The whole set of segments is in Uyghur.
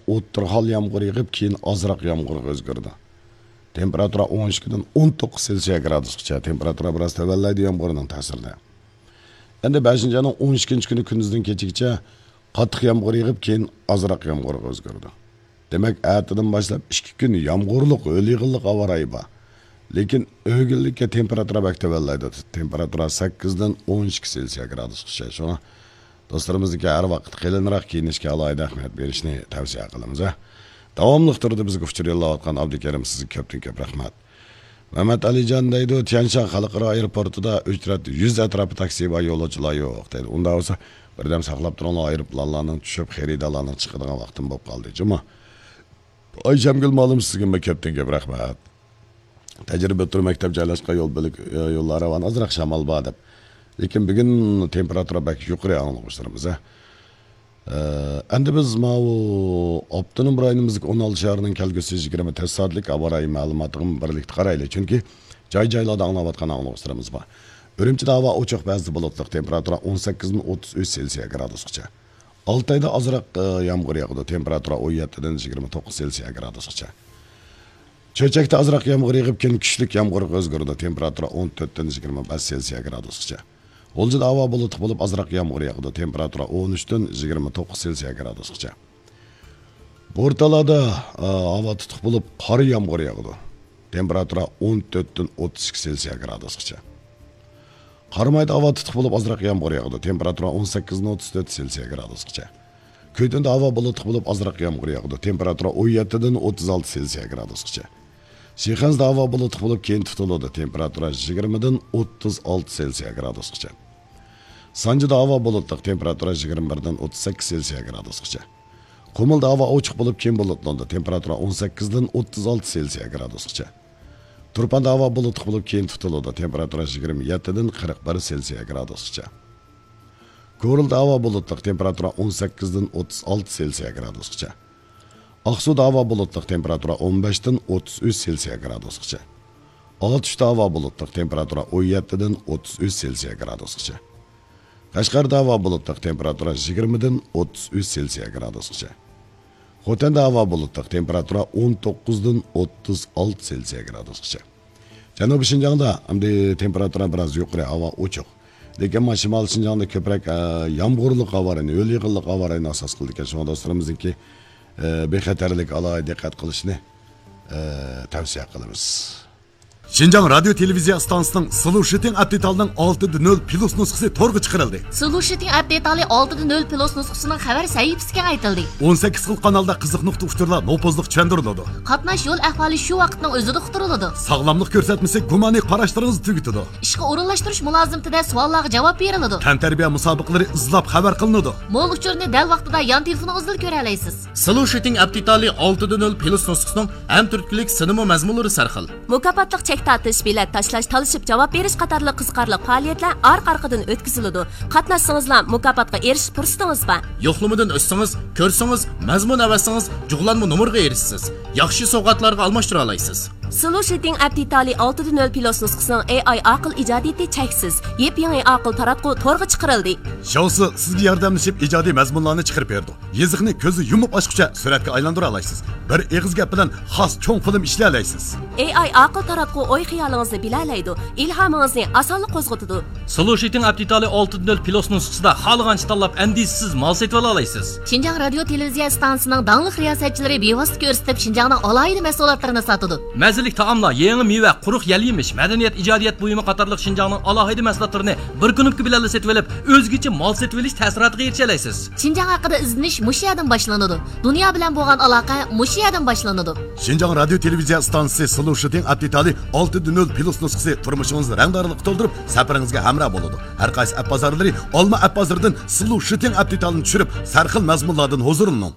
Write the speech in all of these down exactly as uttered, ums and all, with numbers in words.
ئوتتۇرا ھال يامغۇر يېغىپ، كېيىن ئازراق يامغۇرغا ئۆزگىرىدۇ. تېمپېراتۇرا ئون ئىككىدىن ئون توققۇز سېلسىيە گرادۇسقىچە، تېمپېراتۇرا بىراز تۆۋەنلەيدۇ يامغۇرنىڭ تەسىرىدە. ئەمدى بەشىنچى ئاينىڭ ئون ئىككىنچى كۈنى كۈندۈزدىن كېچىگىچە قاتتىق يامغۇر يېغىپ، كېيىن ئازراق يامغۇرغا ئۆزگىرىدۇ. دېمەك، ئەتىدىن باشلاپ ئىككى كۈن يامغۇرلۇق، ھۆل يېغىنلىق ھاۋا رايى بار. لېكىن ئۆگۈنلۈككە تېمپېراتۇرا بەك تۆۋەنلەيدۇ. تېمپېراتۇرا سەككىزدىن ئون ئىككى سېلسىيە گرادۇسقىچە. شۇڭا دوستلىرىمىزنىڭكى ھەر ۋاقىت قېلىنراق كىيىنىشكە ئالاھىدە ئەھمىيەت بېرىشنى تەۋسىيە قىلىمىز، ھە. داۋاملىق تۈردە بىزگە ئۇچۇر يوللاۋاتقان ئابدۇكېرىم، سىزگە كۆپتىن كۆپ رەھمەت. مەمەت ئەلىجان دەيدۇ، تيەنشان خەلقئارا ئايروپورتىدا ئۆچرەت يۈز ئەتراپى تاكسى بار، يولۇچىلار يوق دەيدۇ. ئۇنداق بولسا، بىردەم ساقلاپ تۇرۇڭلار، ئايروپىلانلارنىڭ چۈشۈپ، خېرىدارلارنىڭ چىقىدىغان ۋاقتىمۇ بولۇپ قالدى، جۇمۇ. ئايشەمگۈل مۇئەللىم، سىزگىمۇ كۆپتىن كۆپ رەھمەت. تەجرىبە ئوتتۇرا مەكتەپ جايلاشقان يول بۆلەك، ئە، يوللار راۋان، ئازراق شامال بار دەپ. لېكىن بۈگۈن تېمپېراتۇرا بەك يۇقىرى ئاڭلىغۇچىلىرىمىز، ھە. ئە، ئەمدى بىز ماۋۇ ئاپتونوم رايونىمىزدىكى ئون ئالتە شەھەرنىڭ كەلگۈسى يىگىرمە تۆت سائەتلىك ھاۋا رايى مەلۇماتىغىمۇ بىرلىكتە قارايلى. چۈنكى جاي-جايلاردا ئاڭلاۋاتقان ئاڭلىغۇچىلىرىمىز بار. ئۈرۈمچىدە ھاۋا ئوچۇق، بەزىدە بۇلۇتلۇق، تېمپېراتۇرا ئون سەككىزدىن ئوتتۇز ئۈچ سېلسىيە گرادۇسقىچە. ئالتايدا ئازراق، ئە، يامغۇر ياغىدۇ، تېمپېراتۇرا ئون يەتتىدىن يىگىرمە توققۇز سېلسىيە گرادۇسقىچە. چۆچەكتە ئازراق يامغۇر يېغىپ، كېيىن كۈچلۈك يامغۇرغا ئۆزگىرىدۇ، تېمپېراتۇرا ئون تۆتتىن يىگىرمە بەش سېلسىيە گرادۇسقىچە. غۇلجىدا ھاۋا بۇلۇتلۇق بولۇپ، ئازراق يامغۇر ياغىدۇ، تېمپېراتۇرا ئون ئۈچتىن يىگىرمە توققۇز سېلسىيە گرادۇسقىچە. بورتالادا، ئا، ھاۋا تۇتۇق بولۇپ، قارا يامغۇر ياغىدۇ، تېمپېراتۇرا ئون تۆتتىن ئوتتۇز ئىككى سېلسىيە گرادۇسقىچە. قارامايدا ھاۋا تۇتۇق بولۇپ، ئازراق يامغۇر ياغىدۇ، تېمپېراتۇرا ئون سەككىزدىن ئوتتۇز تۆت سېلسىيە گرادۇسقىچە. كۆيدۈندە ھاۋا بۇلۇتلۇق بولۇپ، ئازراق يامغۇر ياغىدۇ، تېمپېراتۇرا ئون يەتتىدىن ئوتتۇز ئالتە سېلسىيە گرادۇسقىچە. شىخەنزىدە ھاۋا بۇلۇتلۇق بولۇپ، كېيىن تۇتۇلىدۇ، تېمپېراتۇرا يىگىرمىدىن ئوتتۇز ئالتە سېلسىيە گرادۇسقىچە. سانجىدا ھاۋا بۇلۇتلۇق، تېمپېراتۇرا يىگىرمە بىردىن ئوتتۇز سەككىز سېلسىيە گرادۇسقىچە. قۇمۇلدا ھاۋا ئوچۇق بولۇپ، كېيىن بۇلۇتلىنىدۇ، تېمپېراتۇرا ئون سەككىزدىن ئوتتۇز ئالتە سېلسىيە گرادۇسقىچە. تۇرپاندا ھاۋا بۇلۇتلۇق بولۇپ، كېيىن تۇتۇلىدۇ، تېمپېراتۇرا يىگىرمە يەتتىدىن قىرىق بىر سېلسىيە گرادۇسقىچە. كورلىدا ھاۋا بۇلۇتلۇق، تېمپېراتۇرا ئون سەككىزدىن ئوتتۇز ئالتە سېلسىيە گرادۇسقىچە. ئاقسۇدا ھاۋا بۇلۇتلۇق، تېمپېراتۇرا ئون بەشتىن ئوتتۇز ئۈچ سېلسىيە گرادۇسقىچە. ئاتۇشتا ھاۋا بۇلۇتلۇق، تېمپېراتۇرا ئون يەتتىدىن ئوتتۇز ئۈچ سېلسىيە گرادۇسقىچە. قەشقەردە ھاۋا بۇلۇتلۇق، تېمپېراتۇرا يىگىرمىدىن ئوتتۇز ئۈچ سېلسىيە گرادۇسقىچە. خوتەندە ھاۋا بۇلۇتلۇق، تېمپېراتۇرا ئون توققۇزدىن ئوتتۇز ئالتە سېلسىيە گرادۇسقىچە. جەنۇبىي شىنجاڭدا ئەمدى تېمپېراتۇرا بىراز يۇقىرى، ھاۋا ئوچۇق. لېكىن مانا شىمالىي شىنجاڭدا كۆپرەك، ئە، يامغۇرلۇق ھاۋا رايىنى، ھۆل يېغىنلىق ھاۋا رايىنى ئاساس قىلىدىكەن. شۇڭا دوستلىرىمىزنىڭكى، ئە، بىخەتەرلىك ئالاھىدە دىققەت قىلىشنى، ئە، تەۋسىيە قىلىمىز. شىنجاڭ رادىيو تېلېۋىزىيە ئىستانسىسىنىڭ سلوشىتىڭ ئەپ دېتالىنىڭ ئالتىدە نۆل پلۇس نۇسخىسى تورغا چىقىرىلدى. سلوشىتىڭ ئەپ دېتالى ئالتىدە نۆل پلۇس نۇسخىسىنىڭ خەۋەر سەھىپىسى كېڭەيتىلدى. ئون سەككىز خىل قانالدا قىزىق نۇقتا ئۇچۇرلار نوپۇزلۇق چۈشەندۈرۈلىدۇ. قاتناش يول ئەھۋالى شۇ ۋاقىتنىڭ ئۆزىدە ئۇقتۇرۇلىدۇ. ساغلاملىق كۆرسەتمىسى گۇمانىي قاراشلىرىڭىزنى تۈگىتىدۇ. ئىشقا ئورۇنلاشتۇرۇش مۇلازىمىتىدە سوئاللارغا جاۋاب بېرىلىدۇ. تەنتەربىيە مۇسابىقىلىرى ئىزلاپ خەۋەر قىلىنىدۇ. مول ئۇچۇرنى دەل ۋاقتىدا يان تېلېفونىڭىزدىلا كۆرەلەيسىز. سلوشىتىڭ ئەپ دېتالى ئالتىدە نۆل پلۇس نۇسخىسىنىڭ ھەم تۈرتكىلىك سىنىمۇ مەزمۇنلىرى سەرخىل. مۇكاپاتلىق چەك تارتىش، بېلەت تاشلاش، تالىشىپ جاۋاب بېرىش قاتارلىق قىزىقارلىق پائالىيەتلەر ئارقا-ئارقىدىن ئۆتكۈزۈلىدۇ. قاتناشسىڭىزلا مۇكاپاتقا ئېرىشىش پۇرسىتىڭىز بار. يوقلىمىدىن ئۆتسىڭىز، كۆرسىڭىز، مەزمۇن ئەۋەتسىڭىز، جۇغلانما نومۇرغا ئېرىشىسىز. ياخشى سوۋغاتلارغا ئالماشتۇرالايسىز. سلوشىتىڭ ئەپ دېتالى ئالتىدە نۆل پلۇس نۇسخىسىنىڭ ئېي ئاي ئاقىل ئىجادىيىتى چەكسىز. يېپيېڭى ئاقىل تاراتقۇ تورغا چىقىرىلدى. شاۋسى سىزگە ياردەملىشىپ ئىجادىي مەزمۇنلارنى چىقىرىپ بېرىدۇ. يېزىقنى كۆزنى يۇمۇپ ئاچقۇچە سۈرەتكە ئايلاندۇرالايسىز. بىر ئېغىز گەپ بىلەن خاس چوڭ فىلىم ئىشلىيەلەيسىز. ئېي ئاي ئاقىل تاراتقۇ ئوي-خىيالىڭىزنى بىلەلەيدۇ، ئىلھامىڭىزنى ئاسانلا قوزغىتىدۇ. سلوشىتىڭ ئەپ دېتالى ئالتىدە نۆل پلۇس نۇسخىسىدا خالىغانچە تاللاپ، ئەندىشىسىز مال سېتىۋالالايسىز. شىنجاڭ رادىيو تېلېۋىزىيە ئىستانسىسىنىڭ داڭلىق رىياسەتچىلىرى بىۋاسىتە كۆرسىتىپ، شىنجاڭنىڭ ئالاھىدە مەھسۇلاتلىرىنى ساتىدۇ. مەززىلىك تائاملار، يېڭى مېۋە، قۇرۇق يەل-يېمىش، مەدەنىيەت، ئىجادىيەت بۇيۇمى قاتارلىق شىنجاڭنىڭ ئالاھىدە مەھسۇلاتلىرىنى بىر كۇنۇپكا بىلەنلا سېتىۋېلىپ، ئۆزگىچە مال سېتىۋېلىش تەسىراتىغا ئېرىشەلەيسىز. شىنجاڭ ھەققىدە ئىزدىنىش مۇشۇ يەردىن باشلىنىدۇ. دۇنيا بىلەن بولغان ئالاقە مۇشۇ يەردىن باشلىنىدۇ. شىنجاڭ رادىيو تېلېۋىزىيە ئىستانسىسى سلوشىتىڭ ئەپ دېتالى ئالتىدە نۆل پلۇس نۇسخىسى تۇرمۇشىڭىزنى رەڭدارلىققا تولدۇرۇپ، سەپىرىڭىزگە ھەمراھ بولىدۇ. ھەر قايسى ئەپ بازارلىرى، ئالما ئەپ بازىرىدىن سلوشىتىڭ ئەپ دېتالىنى چۈشۈرۈپ، سەرخىل مەزمۇنلاردىن ھۇزۇرلىنىڭ.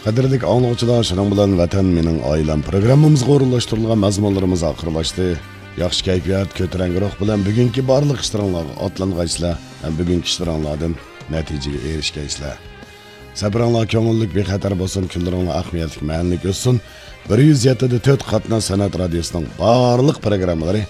قەدىرلىك ئاڭلىغۇچىلار، شۇنىڭ بىلەن ۋەتەن مېنىڭ ئائىلەم پروگراممىمىزغا ئورۇنلاشتۇرۇلغان مەزمۇنلىرىمىز ئاخىرلاشتى. ياخشى كەيپىيات، كۆتۈرەڭگۈ روھ بىلەن بۈگۈنكى بارلىق ئىشلىرىڭلارغا ئاتلانغايسىلەر ھەم بۈگۈنكى ئىشلىرىڭلاردىن نەتىجىگە ئېرىشكەيسىلەر. سەپىرىڭلار كۆڭۈللۈك، بىخەتەر بولسۇن، كۈنلىرىڭلار ئەھمىيەتلىك، مەنىلىك ئۆتسۇن. بىر يۈز يەتتە دە تۆت قاتناش سەنئەت رادىيوسىنىڭ بارلىق پروگراممىلىرى